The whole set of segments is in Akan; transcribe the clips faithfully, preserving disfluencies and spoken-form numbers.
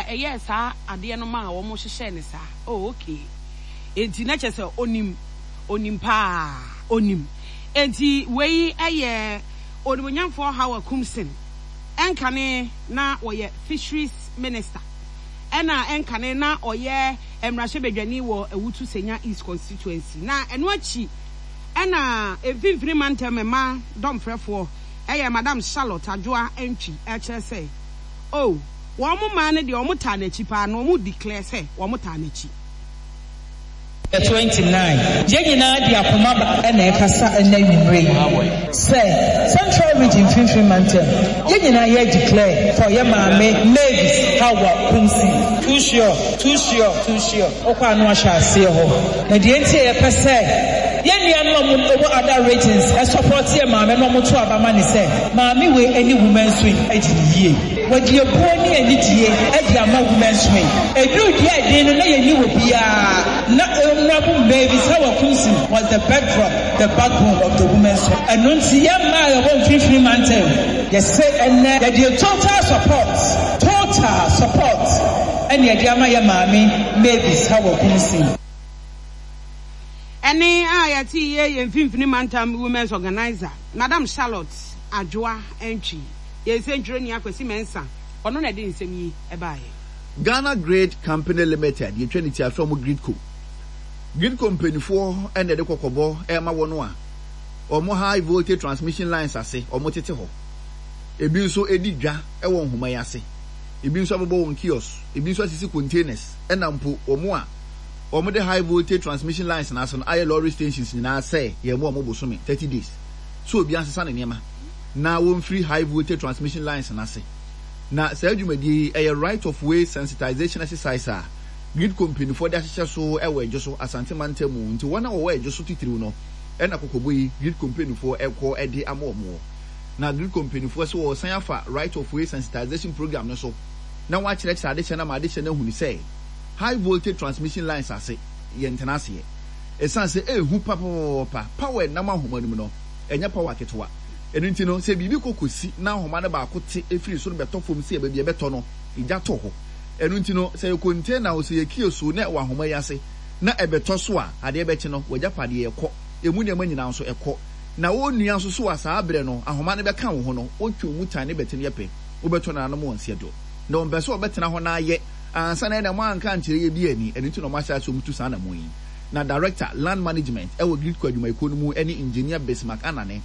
Ɛyɛɛ saa adeɛ no ma a wɔn hyehyɛ ne saa. Oh, okay, enti na kyerɛ sɛ onim, onim paa, onim. Enti wei ɛyɛ Onimonyamfoɔ Hawa Koomson. Ɛnkane na wɔyɛ Fisheries Minister, ɛna ɛnkane na ɔyɛ mmarahyɛbadwani wɔ Awutu Senya East Constituency. Na ɛno akyi ɛna Mfimfini Mantam mma dɔmfrɛfoɔ ɛyɛ Madam Charlotte Adwoa Antwi, ɛkyerɛ sɛ oh, wɔn mmaa no deɛ, wɔn taa n'akyi paa, na wɔn declare sɛ wɔn taa n'akyi. Twenty nine, yɛn nyinaa de akoma ba ɛna ɛkasa ɛna nwumire yi sɛ Central Region, Mfimfini Mantam, yɛn nyinaa yɛ declare for yɛ maame Mavis Hawa Koomson. Too sure, too sure, too sure. Ɔkɔ ano ahyɛ aseɛ hɔ na deɛ nti a yɛpɛ sɛ yɛn nuanom a wɔwɔ other regions ɛsupport yɛ maame na wɔto aba ma ne sɛ maame wei ɛne women's wing adi ne yie. Wɔde ebuo ne anidie ɛde ama women's wing. Eduru deɛ ɛden no na yɛni wɔ biara na Honourable Mavis Hawa Koomson was the bedrock, the backbone of the women's wing. Ɛno nti yɛn mmaa a yɛwɔ Mfimfini Mantam, yɛsɛ ɛnɛ yɛde total support, total support ɛne yɛde ama yɛ maame Mavis Hawa Koomson. Ɛne a yɛte yie yɛ Mfimfini Mantam women's organizer, Madam Charlotte Adwoa Antwi. Yɛn nsɛntwerɛni Akwasi Mɛnsa, ɔno na ɛde nsɛm yi ɛbaeɛ. Ghana Grid Company Limited, yɛtwa ne ti afrɛ mo GRIDCo. GRIDCo mpanimfoɔ ɛna ɛde kɔkɔbɔ ɛma wɔn a wɔn high voltage transmission lines ase wɔn tete hɔ, ebi nso edi dwa ɛwɔ nhoma yi ase, ebi nso abobɔ wɔn kiosk, ebi nso asisi containers, ɛna mpo wɔn a wɔn de high voltage transmission lines n'ase no ayɛ lorry stations nyinaa sɛ yɛn mu a wɔn bosome thirty days so obi asesa ne nneɛma na wɔn firi high voltage transmission lines n'ase. Na saa dwumadie yi ɛyɛ right of way sensitization exercise a GRIDCo mpanimfoɔ de ahyehyɛ so ɛwɔ Ɛdwo so, Asante Mantam mu. Nti wɔn a wɔwɔ Ɛdwo so titiriw no ɛna kɔkɔbɔ yi GRIDCo mpanimfoɔ ɛkɔ ɛde ama wɔn wɔ. Na GRIDCo mpanimfoɔ sɛ wɔsan afa right of way sensitization program no so na wɔakyerɛkyerɛ adehyɛ no ama adehyɛ no ahunu sɛ high voltage transmission lines ase yɛ ntena aseɛ, ɛsiane sɛ ɛɛhu papaapa. Power nam ahoma no mu no ɛnyɛ power ketewa. Ɛno nti no, sɛ biribi kɔ kɔsi na ahoma no baako te efiri soro bɛtɔ fam sɛ baabi ɛbɛtɔ no, egya tɔ hɔ. Ɛno nti no, sɛ yɛ container o, sɛ yɛ kiosk o, na ɛwɔ ahoma yi ase na ɛbɛtɔ so a, adeɛ bɛkye no, wagyapadeɛ ɛkɔ, emu nneɛma nyinaa nso ɛkɔ. Na wɔn nua nso so a, saa berɛ no ahoma no bɛka wo ho no, wɔtwe wo mu tan ne bɛte no yɛ pɛ, wobɛtɔ nananom wɔn nseɛ do. Na wɔn pɛ sɛ wɔbɛtena hɔ na ayɛ ansa na ɛna mo anka nkyerɛ yɛ bi ani. Ɛno nti na wɔn ahyɛ ase wɔn tu saa anamɔ yi. Na Director, Land Management ɛwɔ GRIDCo adwumayɛkuo no mu ɛne Engineer Bismarck Anane,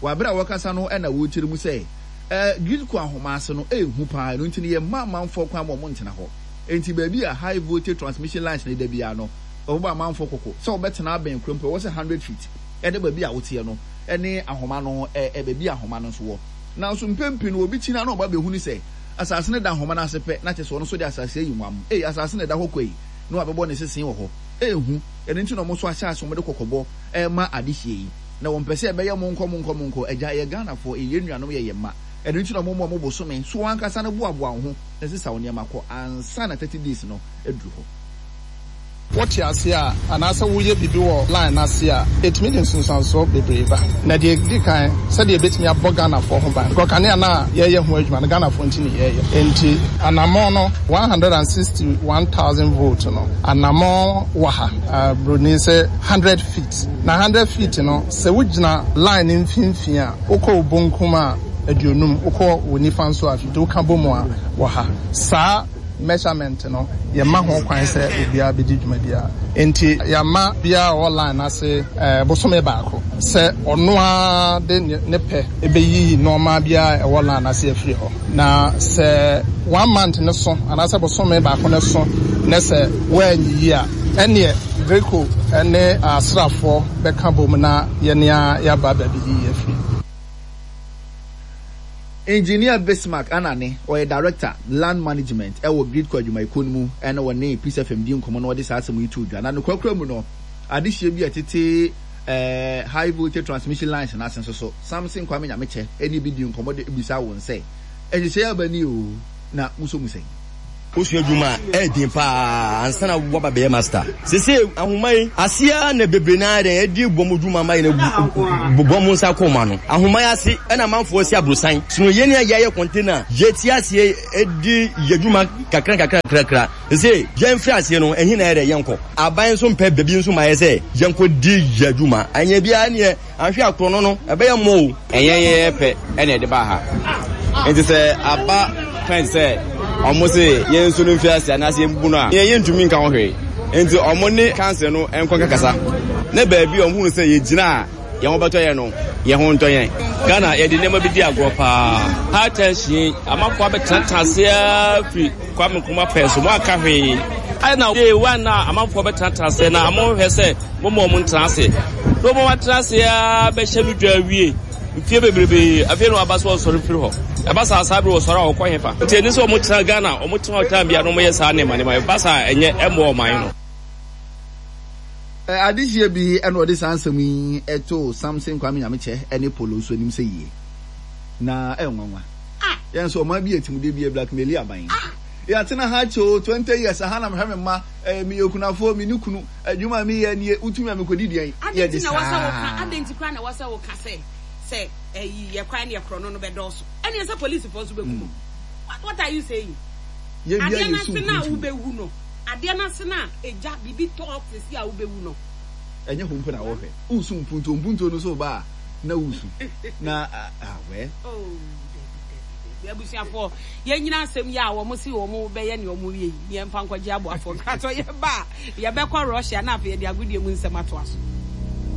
wɔ abere a wɔkasa no ɛna wɔrekyerɛ mu sɛ ɛɛ GRIDCo ahoma ase no ɛɛhu paa. Ɛno nti no yɛ mma amanfoɔ kwan ma wɔn ntena hɔ. Nti baabi a high voltage transmission lines no da biara no, wɔbɛbɔ amanfoɔ kɔkɔ sɛ wɔbɛtena abɛn kuro mpo, ɛwɔ sɛ hundred feet ɛde baabi a woteɛ no ɛne ahoma no ɛɛ baabi a ahoma no nso wɔ. Nanso mpɛn no obi kyina na ɔba bɛhu ne sɛ asase no da ahoma no ase pɛ, na kyerɛ sɛ ɔno nso de asase ayi nwam. Ei, asase no da hɔ kɔ yi, na wabɛbɔ ne sesen wɔ hɔ. Ɛɛhu. Ɛno nti na ɔmo nso ahyɛ ase ɔmo de kɔkɔbɔ ɛɛma adehyɛ yi, na wɔn pɛ sɛ ɛbɛyɛ mo nkɔ mo nkɔ mo nkɔ agya. Ɛyɛ Ghanafoɔ, ɛyɛ yɛn nuanom, yɛ yɛn mma. Ɛno nti na ɔmo mo ɔmo bosome so wɔn ankasa no boaboa wɔn ho na sisa wɔn nneɛma kɔ ansa na thirty days no aduru hɔ. Wote ase a anaasɛ woyɛ biribi wɔ line n'ase a, ɛtumi de nsunsuansoɔ bebree ba. Na deɛ di kan, sɛdeɛ ɛbɛtumi abɔ Ghanafoɔ ho ban, because kanea no a yɛyɛ ho adwuma no, Ghanafoɔ nti ne yɛyɛ. Nti anammɔn no one hundred and sixty-one thousand volt no, anammɔn wɔ ha, uh, broni sɛ hundred feet. Na hundred feet no, sɛ wogyina line no mfimfini a, wokɔ wo bonkum a aduonum, wokɔ wo nifa nso a fifty, woka bɔ mu a wɔ ha. Saa measurement no, yɛma ho kwan sɛ obiara bɛdi dwuma biara. Nti yɛama biara a ɔwɔ line ase ɛɛ bosome baako sɛ ɔno ara de ne pɛ ɛbɛyiyi nneɛma biara a ɛwɔ line ase afiri hɔ. Na sɛ one month ne so anaasɛ bosome baako ne so ne sɛ wɔanyiyi a, ɛneɛ GRIDCo ne asraafoɔ bɛka bom na yɛne a yɛaba baabi yiyi afiri. Engineer Bismarck Anane, ɔyɛ Director, Land Management ɛwɔ GRIDCo adwumayɛkuo no mu, ɛna wɔne Peace F M di nkɔmmɔ na wɔde saa asɛm yi to dwa. Na nokorakora mu no, adehyɛ bi a ɛtete ɛɛ high voltage transmission lines n'ase nso so, Samson Kwame Nyamekyɛ ɛne bi di nkɔmmɔ de bisa wɔn sɛ ɛhyehyɛ aba ni o, na muso mu sɛn. Wosua adwuma a ɛyɛ den paa ansa na woaba bɛyɛ master. Seesei ahoma yi ase ara na bebree no ara dɛn adi bɔ mo dwuma ma yɛn agu bɔ mo nsa kɔ mo ano. Ahoma yi ase na amanfoɔ si aborosan. Sono yɛn a yɛayɛ container yɛte aseɛ di yɛn dwuma kakra kakra kakra. Seesei yɛn firi aseɛ no ɛhe na ɛyɛ dɛ yɛnkɔ. Aban nso mpɛ baabi nso ma yɛ sɛ yɛnkɔ di yɛn dwuma. Anyɛ biara neɛ Anhwɛ a korɔno no, ɛbɛyɛ mmɔ o. Ɛnyɛ yɛn pɛ na ɛde baa ha. Nti sɛ aba pɛn sɛ wɔn se yɛn nsu no mfi ase anaasɛ yɛn bubu no a, yɛn yɛntumi nka ho hwee. Nti wɔn ne council no nkɔ nkɛkasa na baabi a wɔn hunu sɛ yɛgyina a yɛn ho bɛtɔ yɛn no, yɛn ho ntɔ yɛn. Ghana yɛde nneɛma bi di agorɔ paa. High tension yi, amanfoɔ abɛtenatena ase ara firi Kwame Nkrumah pɛn so, moanka hwee. Adɛn na day one a amanfoɔ bɛtenatena ase na monhwɛ sɛ momma wɔn ntena ase? Na wɔn atena ase ara bɛhyɛ no dwa awie mfie bebrebe, afei na wɔaba sɛ wɔsɔre firi hɔ. Ɛba saa saa bere wɔsɔre a wɔkɔ hefa? Nti ɛni sɛ wɔtena Ghana, wɔtena hɔ time biara na wɔyɛ saa nneɛma nneɛma. Ɛba saa a ɛnyɛ ɛmmoa ɔman no. Adehyeɛ bi na ɔde saa nsɛm yi too Samson Kwame Nyamekyɛ ne Polo nso anim sɛ yie na ɛyɛ nwanwa. Yɛn nso ɔman bi yɛ timude bi yɛ blackmaili aban. Yɛatena ha akyɛ o, twenty years, aha na mehwɛ me mma, eh, meyɛ okunafoɔ, menni kunu, adwuma a meyɛ nie, wotumi a mekɔdi deɛn? Adɛn Yɛde nti na ɛwɔ sɛ woka, saa. adɛn nti koraa na ɛwɔ sɛ woka sɛ, sɛ ɛyi yɛ kwan ne ɛkorɔno no bɛdɔɔso? Ɛneɛ sɛ polisifoɔ nso bɛkum mo. What, what are you saying? Yɛwia Adeɛ no yɛsu ase no a mpuntuo. wobɛwu no, adeɛ no ase no a egya, biribi tɔ sɛsi a wobɛwu no. Ɛnyɛ hɔ mpo na wɔhwɛ. Wosu mpuntuo, mpuntuo no nso ba a na wosu. Na ah, well. Oh, dabi, dabi, dabi. Abusuafoɔ, yɛnyina asɛm yi a wɔn se wɔn bɛyɛ nea wɔn yɛ yi, ne yɛmfa nkɔgye aboafoɔ nkratɔ. Yɛba a, yɛbɛkɔ Russia na afei yɛde agodie mu nsɛm atoa so.